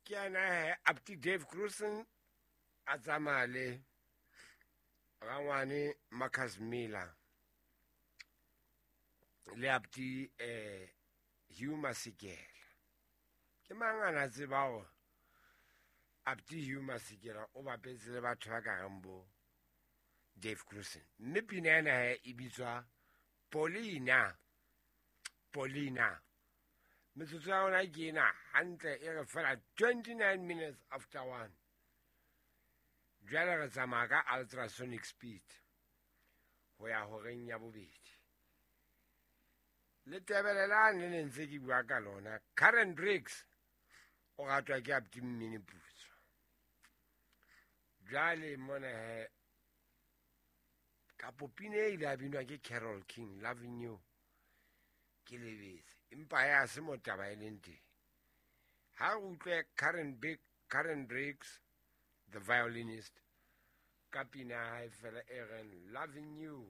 Ke yena he Apti Dave Cruisen a tsamaya le rangwane Marcus Miller le Apti Hugh Masekela. Ke mang a na tseba hore Apti Hugh Masekela o bapetse le batho ba ka reng bo Dave Cruisen. Mme pina ena he e bitswa Paulina. Paulina. Metsotso ya rona ke ena hantle e re fela 29 minutes after 1. Jwale re tsamaya ka ultrasonic speed ho ya horeng ya bobedi. Le tebelelane le ne ntse ke bua ka lona. Karen Briggs o ratwa ke Apti Mmini Putswa. Jwale mona he kapo pina e ile ya binwa ke Carole King, Loving You. Ke lebetse empa ya se mo taba e leng teng. Ha re utlwe Karen Briggs, the violinist, ka pina ya hae fela e reng Loving You.